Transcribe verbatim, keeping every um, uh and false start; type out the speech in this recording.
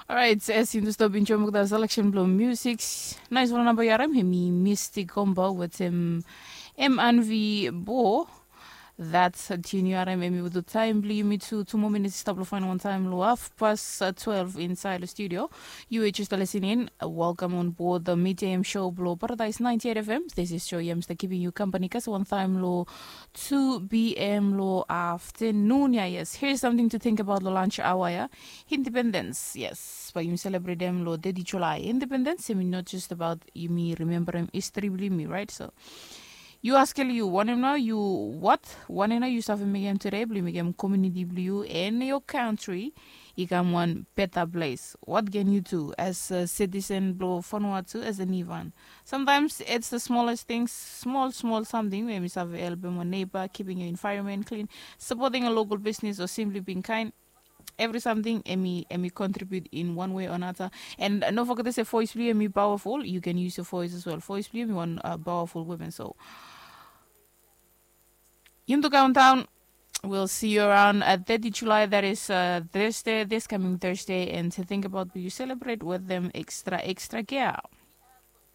Orait, as yumi stop enjoy olgeta selection blong music, naisfala namba yu harim hemi Misty Combo wetem M and V Bo. That's a tune yu harim hemi with the time blong yumi tu, two more minutes i stap long fain wan time long half past uh, twelve inside the studio. You were just listening. Uh, welcome on board the Media M show blong Paradise ninety-eight F M. This is show yam start keeping you company kasi one time long two p.m. long afternoon. Yeah, yes. Here's something to think about long lunch hour. Yeah, independence. Yes, but you celebrate them long thirty July. Independence, I mean, not just about you me remembering history blong yumi, right? So you ask you, wanem nao yu, what? Wanem nao yu save mekem today blong yu mekem community blong yu and your country i kam wan better place? What can you do as a citizen blong Vanuatu as a new one? Sometimes it's the smallest things, small small something wey mi save helpem wan neighbor, keeping your environment clean, supporting a local business or simply being kind. Every something emi emi contribute in one way or another. And uh, no forget to say voice blong yu emi powerful. You can use your voice as well. Voice blong yu emi one uh, powerful women. So yumi tu countdown. We'll see you around uh, thirty July. That is uh, Thursday, this coming Thursday. And to think about, will you celebrate with them extra, extra care?